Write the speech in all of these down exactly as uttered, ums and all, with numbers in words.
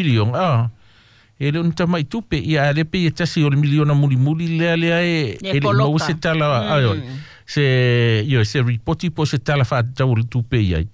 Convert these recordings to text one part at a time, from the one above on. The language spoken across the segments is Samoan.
Miliona a e le o ni tamai tupe ia a le pei e tasi o le miliona mulimuli lea lea e Ia e le i maua poloka. Se tala mm. Se ioe se ripoti po o se tala faatatau o le tupe i ai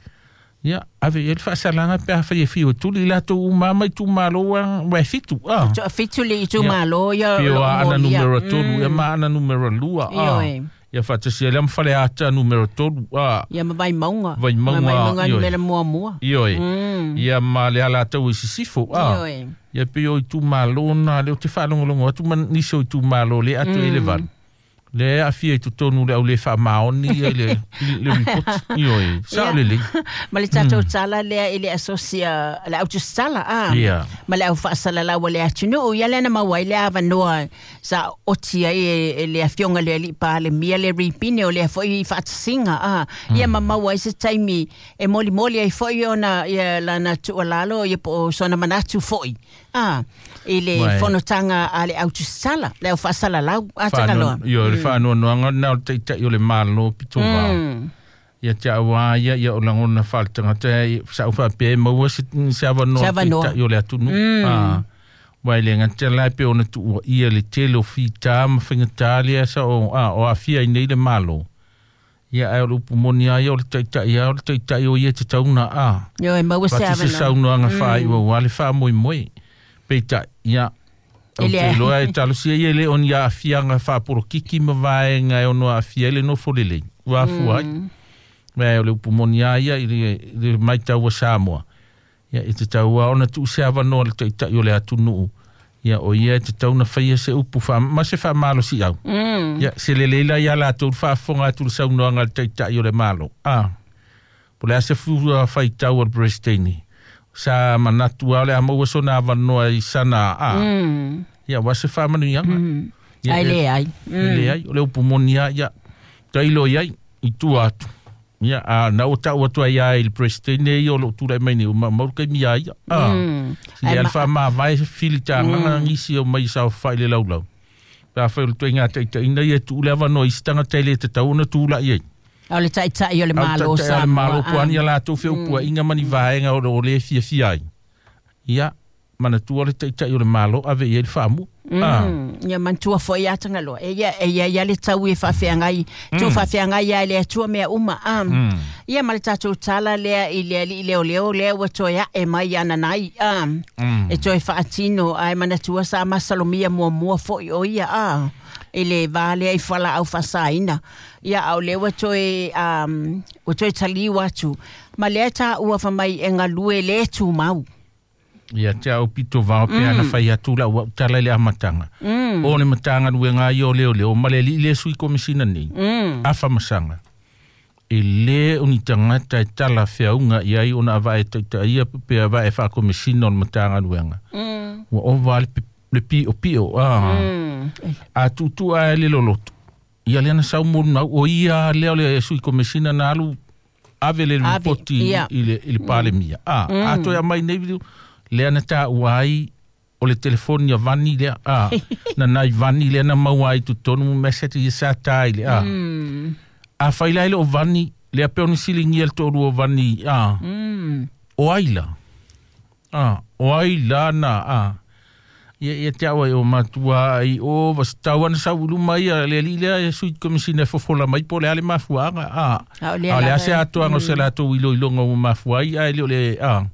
ia ave i ai le faasalaga pe afai e fiu e tuli i latou uma ma itumalo a ua e fitu a Fitu le itumalo ia pei o o loo Aana molia. numera tolu ia ma Aana numera lua a Ioe. Ia faatasia lea ma Faleata numera tolu a Ia ma Vaimauga. Vaimauga, Ma Vaimauga ioe. Numera muamua. Ioe. Mm. Ia ma le Alataua i Sisifo a Ioe. Ia pei o itumalo na lea ou te faalogologo atu ma nisi o itumalo le ato i le valu le aafia i totonu le au le faamaoni ia i le i le ripoti ioe sao Ia. Lelei. Ma le tatou tala lea i le asosia le au tusitala a. Ia. Ma le au faasalalau a le atunuu ia lea na maua ai le avanoa sa oti ai e, e le afioga le alii Palemia le ripine o lea foi faatasiga a. Ia ma maua ai se taimi e molimoli ai foi ona ia lana tuualalo ia po o sona manatu foi a i le Uai. Fonotaga a le au tusitala le au faasalalau a Tagaloa. Io le faanoanoaga na o le taita'i o le Malo pito vao Mm. ia te au a ia ia o lagona faaletagata e sa'u faapea e maua se se avanoa Se avanoa. Taita'i o le atunuu a ua e le gata la e pei ona tuuaia le tele o fitā ma faigatā lea sa o a o aafia ai nei le Malo ia ae o le upu moni a ia o le taita'i a o le taita'i o ia te tauna a Ioe maua se pati se avanoa. Saunoaga faaiua ua le faamoemoe peitai ia E ou le- te iloa e talosia ia e le o ni aafiaga faapolokiki ma vaega e ono aafia ai le nofo lelei ua afua ai me o le upu moni a ia i le, i le maitau a Samoa ia e tatau a ona tuu se avanoa le taita'i o le atunuu ia o ia e tatau na faia se upu fa, ma se faamalosiau Mm. ia se lelei la ia latou le faafofoga atu le saunoaga a le taita'i o le Malo a po le a se fua faitau a le Peresetene sa manatu a o le a maua sona avanoa i sana a Mm. ia ua se faamanuiaga ia Ai e- le ai. e leai o le upu moni a ia tailo i ai i tua atu ia a na o tau atu ai ai i le Peresetene ia o loo tulai mai nei ua mau kaimi a ia a Mm. si Ai le ma- faamavae filitagaga nisi o mai saofai le laulau pe afai o le toaiga taitaina ia tuu le avanoa i se tagata e le tatau ona tula'i ai. O le taitai o le Malo o le Samoa. Malo po ani latou feupuaiga ma ni vaega o o le fiafia ai ia manatua le taita'i o le Malo ave i ai le faamu a Mm, ia manatua foi ia Tagaloa. E ia, e ia, ia le tau e faafeagai, tu faafeagai ia le Atua mea uma. A. Ia ma le tatou tala lea i le alii leoleo lea ua toe ae mai ananai. A. E toe faatino ae manatua sa masalomia muamua foi o ia a. I le vā lea i falaau faasaina. Ia a o lea ua toe, um, ua toe taliu atu. Ma lea taua famai e galue le tumau. Ia te au pito vao pe ana fai atu la ua tala i le amataga o le Matagaluega ia o leoleo ma le alii le sui komisina nei Mm. afa masaga e lē o ni tagata e tala feauga i ai ona avae taitaia pe avae faakomisina o le Matagaluega Mm. ua ova le pe- le piʻopiʻo a Mm. a tuutuʻa e le loloto ia lea na saumolunau o ia lea o le sui komisina na alu ave le Ave, ripoti ia. i le, i le Palemia a mm. a toe amai nei lea na taua ai o le telefoni a Vani lea a na nai Vani lea na maua ai totonu message ia sa tā i le a Mm. a fai la i le o Vani lea pe ona siligia le toalua o Vani a Mm. o ai la a o ai la na a ia ia te au ai o matua ai o vas tau ana sau i luma ia le alii lea e sui komisina e fofola mai po o le a le mafuaaga a A o lea a o le a lava- se atoaga o se latou iloiloga ua mafua ai ae le o le a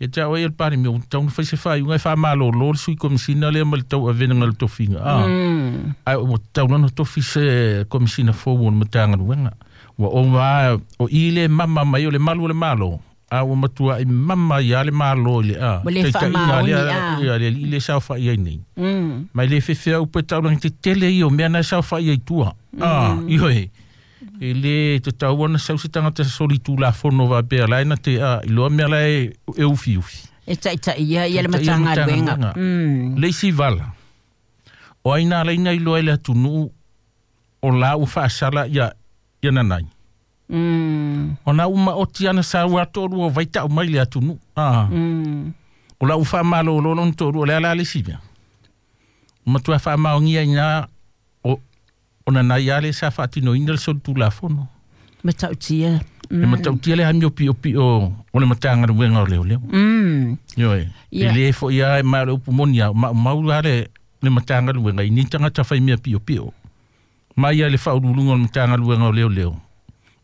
ia te au ai o le Palemia ua tatau ona fai se faaiuga e faamalōlō le sui komisina lea ma le tauavenaga le tofiga a Mm. ai ua tatau lana tofi se komisina fou o le Matagaluega ua ova o i le mama mai o le malu o le Malo a ua matuaʻi mama ia le Malo i le a Ua le taitaiga faamaoni, lea a. ia le alii le saofaʻi ai nei Mm. mai le fefeau pe taulagi tetele ia o mea na e saofaʻi ai tua a ioe e lē tatau ona sau se tagata soli tulafono faapea lae na te a iloa mea lae e ufiufi E taitai ia ia le Taitaia Matagaluega. Matagaluega. Mm. Le isi vala o ai na laina iloa i le atunuu o la ua faasala ia ia nanai Mm. ona ua maoti ana sa ua toalua o vaitau mai le atunuu a Mm. o la ua faamalōlō lona toalua o le ala le isi mea matua faamaogia ina o o nanai a le sa faatinoina le solitulafono. Matautia. Mm. E matautia le amio pio pio o le matanga luenga o leo leo. Mm. Ioe. Yeah. E le fo ia e ma le upu monia ma mau ale le matanga luenga i ni tangata whai mea pio pio. Mai ia le whaurulunga o le matanga luenga o leo leo.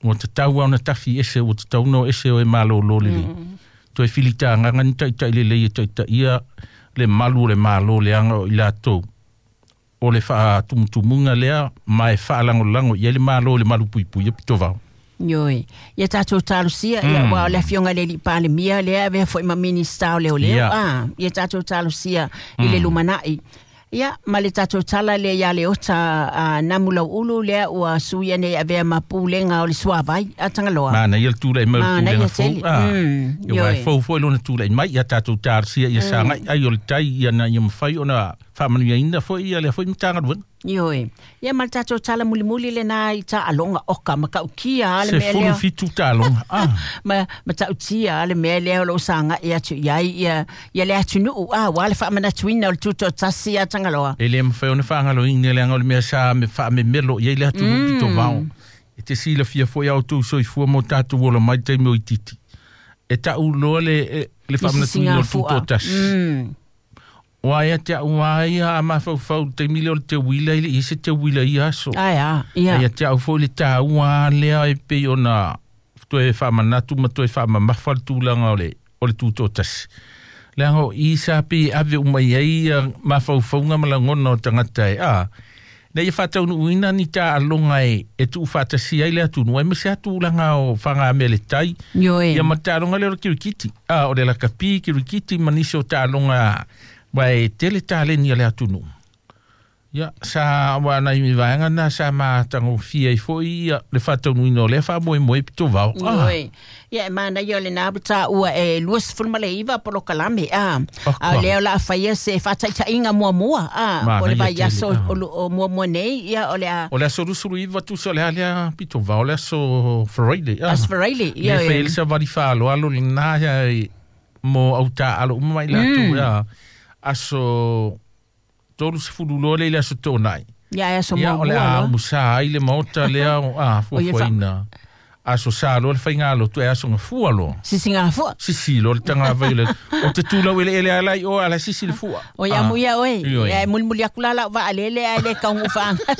Ua te tau au na tawhi ese, ua te tau no ese o e malo lo lele. Mm. Toi filita nganga ni tai tai le le tai tai ia le malu le malo le anga o ila tau. O le wha tumutumunga lea, mai wha lango lango, ia le malo le malu pui pui, ia pito vau. Ioe. Ia tātou talosia, Mm. ia ua o le afioga le Palemia lea avea foi ma Minista o Leoleo. Ia. Ah, ia tātou talosia i le lumanai. Ia, ma le tātou tala lea ia le ota a namulau ulu lea ua suia nei avea ma pulega o le suavai a Tagaloa. Mana ia le tūlei mau Mana pulega ia fou. tele. Ah. Mm, Ia wai ioe. fou foi lona tūlei mai, ia tātou talosia, ia sangai, ai o le tai, ia na ia mawhai o na whaamanuia ina foi, ia lea foi matanga luenga. Ioe. Ia ma le tātou tala mulimuli le nā i tā alonga oka ma kaukia a le Se mea fulu lea. fitu tālonga. Ah. Ma ma tautia le mea lea o loo saga e atu iai ia ia le atunuu a ua le faamanatuina o le tutotasi a Tagaloa. E le mawhai o na whaangalo ina le anga o le mea sa me wha me melo, ia i le atu mm. pito vao. E te sila fia foi au tau soifua mo tātou ola mai taimi o i titi. E tau loa le, e, le whaamanatuina o le tutotasi. Mm. Wa ia te au ia a mawhauwhau te mile o le te wila i se te wila i aso. Ai a, ia. Ia te au foi le tāua lea e pei ona toe whaamanatu ma toe whaamamafa le tūlanga o le, o le tūtōtasi. Leanga o isa pe ave umai ai ia mawhauwhaunga ma langona o tangata e. A, nei e whātaunu uina ni tā alonga e, e tuu whātasi ai le atunu. Ai mese atūlanga o whanga me le tai. Ioe. Ia ma tālonga leo kirikiti. A, o le lakapi kirikiti manisi o tālonga wai tele tāleni a le atunu. Ia, sa wana i mi vaenga na sa mātango fia i foi ia le whātaunuina o le wha moe moe pito vao. Ah, Ioe. Ia e mana ia o le nā tā ua e luasefulu ma le iva polokalame a. Oh, A kua. lea o la awhaia se whātaitaiga muamua a. Mana O le ia vai aso tele, ah. o, o muamua nei ia o le a O le aso rusuru iwa tusa o le alea pito vao, o le aso Friday. Ah. Aso Friday, Le ia, whai ia. elisa wari whaalo alo le nā ia i mo au tā alo uma mai lātou ia. Aso tolu sefulu loa le i le aso tōnai. Ia e aso Ia o le muamua a loa. musa ai le maota lea o a O ia fuafuaina. Aso sa loa le whainga alo tu e aso ngafua loa. Sisi ngā fua. Sisi loa le tanga vai le. O te tūlau ele ele alai o ala sisi le fua. O ia mu ia oe. Ioe. Ia e mulimuli aku la lau vaalele ai le kaungu whaanga.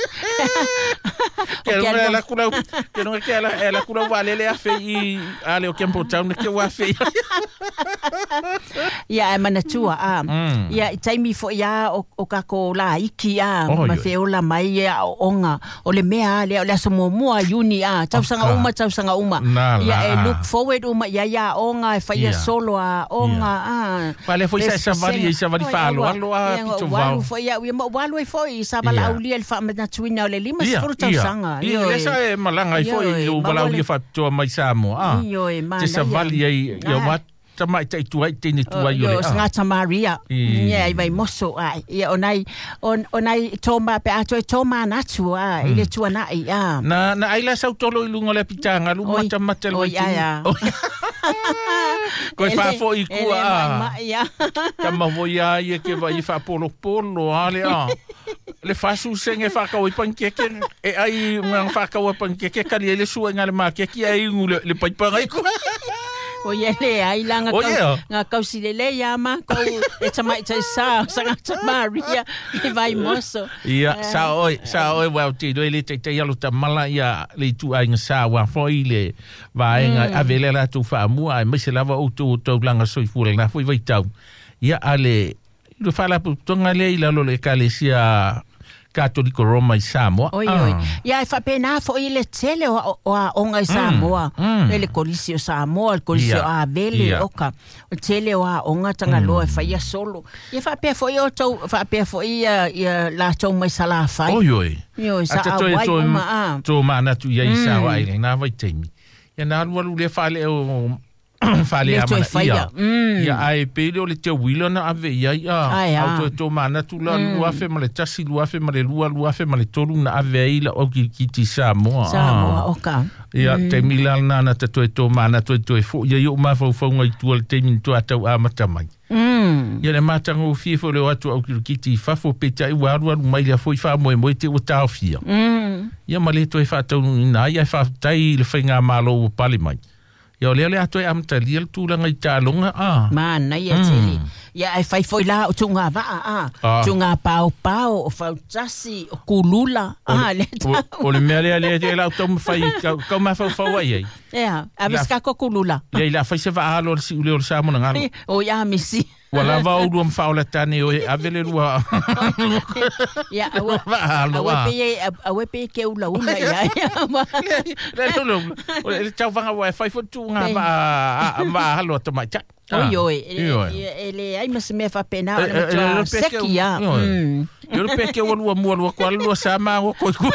Ke runga la kula ke runga ke ala ala kula vaalele a fe i ale o Kempo Town ke wa fe. Ia e manatua a. Mm. Ia i taimi fo ia o, o kako la iki a. Oh, ma ioe. feola mai ia o onga. O le mea lea o le aso muamua Iuni a. Tausaga Aka. uma, tausaga uma. Nā la, Ia e a. look forward uma ia ia onga e whaia Ia. solo a onga a. Pa le foi sa Le sa vali i sa vali Oi, whaalo aua. alo a Ia, pito walu vao. foi ia, ia ma walu e foi i sa vala Ia. aulia le whaamanatuina o le lima Ia, sefulu ia. tausaga. Ia, Ioe. le sa e malanga i foi Ioe, i o ma walau wale- ia whapitoa mai Samoa. Ah. Ioe, mana Te sa ia. vali ai ia Ah. wa tamai tai tuai tēne tuai o Io, le. Ah. sangata Maria. I. Ia, i vai moso ai. Ia, o nai, o, o nai tōma, pe ato e tōma natu, a, i le tuanai, a. Na na ai la sau tolo i lunga le pitanga lu Oi. mata mata le Oi, waitini. ai, a. Oi. Koe Ele- whaafo i ele kua mai a. mai, a. Ka mawoi a ia ke vai i whaapolopolo a le a. Le whasu senge whakau i pankeke. E ai ngā whakau i pankeke kali e le sua ngā le makeke ai ngu le, le paipanga i kua. O ia le ai la ngā O kau, ia. ngā kausi le le ia ma, kou e tamai tai sa, sangata Maria, i vai moso. Ia, sa oi, sa oi wau te roi le te te alo ta mala ia le tu ai ngā sa wā foi le vaenga mm. ave le la tu whaamua ai maise lava o tō tau langa soifua le nā foi vai tau. Ia ale, le whala tonga le i lalo le ekalesia Katoliko Roma i Samoa. Oi, oi. Ia, e whapena fo i le tele o, o a onga i Samoa. mm. Le le kolisi o Samoa, le kolisi Ia, o Avele, ia. oka. O tele o a onga tangaloa e whaia solo. Ia whapea fo i o tau, whapea fo i ia, ia la tau mai salawhai. Oi, oi. Oi, sa Ata a toe wai tō, uma a. tō mānatu ia i Samoa ai le nā vai teimi. Ia nā alu alu le whale o whale Le a toe mana whaia. ia. Mm. Ia ai pele o le te wila na ave ia ia. Ai, a. Au toe tō mānatu la lua afe ma le tasi, lua afe ma le lua, lua afe ma le tolu na ave ai la o ki kiti Samoa. Samoa, Ah. oka. Ia, mm. te mila nana te toe tō māna toe toe fo. Ia i o mawhauwhaunga i tua le teimi tua tau a mata mai. Mm. Ia le matagofie foi o le o atu au kirikiti i fafo peitai ua alualu mai lea foi faamoemoe te ua taofia. Mm. Ia ma le toe faataunuuina ai ae faafetai i le faigamalo ua pale mai. Ia o lea o le a toe amatalia le tulaga i taaloga a. Manaia tele. Ia ae fai foi la o tuuga vaa a. Ah. Tuuga paopao, o fautasi, o kulula. A, le O, o le mea lea lea e lau taumafai kau, kau mafaufau ai ai. Ia, ave La- se kako kulula. Lea i le a fai se vaalo o le siuleo o le Samoa na galo. O ia misi. Ua lava o lua mawhaola tane o e ave le lua. Ia, aua Vaalo aua a. pe aua pe ke ula ula ia. Le le le o le tauvaga ua e fai foi tuuga Pe. va a va halo tamaita. Oi oi, Ioe. e le ai ma se mea faapena o E- le e- e- matua le pe ke- seki ia. Ioe. Mm. Yo le peke ua lua mua lua kwa lua sama o koi kua.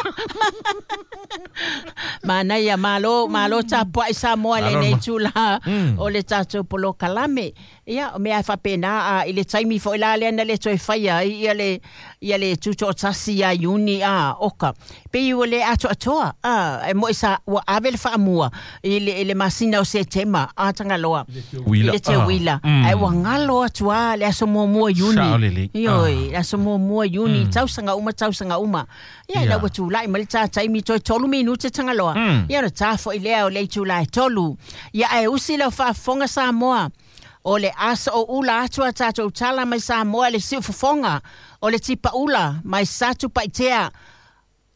Manaia malo malo tapuai Samoa Malo lenei ma. tula Mm. o le tatou polokalame. Ia o mea e faapena a i le taimi foi la lea na le toe faia ai ia le ia le tutoatasi ia Iuni a Oka. Pei ua le atoatoa a e moi sa ua ave le faamua i le i le masina o Setema a Tagaloa. Uila. I le teuila. Ah. Mm. Ai ua galo atu a le aso muamua Iuni. Sao lelei. Ioe, Ah. le aso muamua Iuni, tausaga uma tausaga uma. Ia Ia. ina ua tulai ma le tā taimi toe tolu minute Tagaloa. Mm. Ia ona tā foi lea o le itula e tolu. Ia ae usi lau faafofoga Samoa. O le aso o ula atu a tātou tala mai Samoa le siufofoga. O le tipaula mai Satupaitea.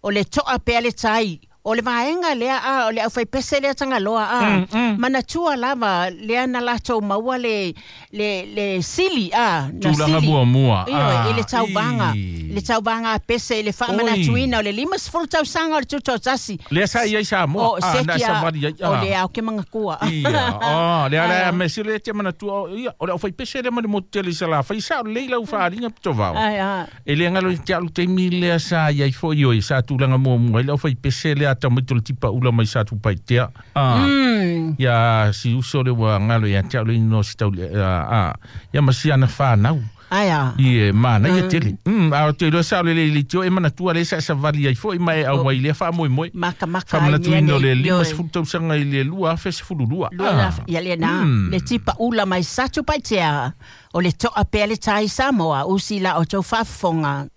O le toa pea le tai. O le vaega lea a, o le aufaipese lea Tagaloa a. Mm, mm. Manatua lava lea na latou maua le, le, le sili a. Na Tulaga sili. muamua. Ioe, Ah, i le tauvaga. i. I le tauvaga a pese i le faamanatuina o le lima sefulu tausaga o le tutoatasi. Lea sa i ai Samoa. O Ah, na seki a, savali ai. o Ah. le ao ke mangakua. Ia, oh, lea lea Ah. me sile te manatua o ia, o le au pese le ma le motu tele i sa la fai sao lei lau whaaringa pito vao. Ai, a. E le ngalo i te alu te mi lea sa iai foi oi sa tulaga muamua i le au pese lea tamaiti o le tipa ula mai sa tupaitea. Ah. Mm. Ia si uso le ua ngalo ia te alu ino si tau le, ah, ah. Ia ma si ana whanau. Ai, a. I e mana ia tele. Mm, a o te roa sao le le le tio e manatua le sa sa vali ai foi mai au mai lea wha moi moi. Maka maka ai mea Whamanatuina o le nei. lima Ioe. sefulu tausaga i le lua afe sefulu lua. Lua Ah. ia le na, Mm. le tipa ula mai Satupaitea. O le toa pea le tai Samoa, usi la o tau faafofoga.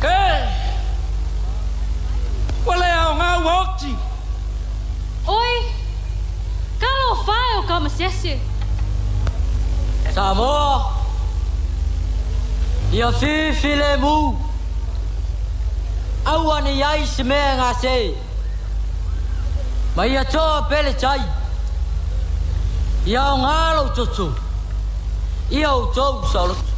E! Ua le aogā ua oti. Oi, talofa e o ka masese. Samoa! Ia fifi le mu. Aua ne iai se mea gase. Ma ia toa pele tai. Ia aogā lou toto. Ia outou saoloto.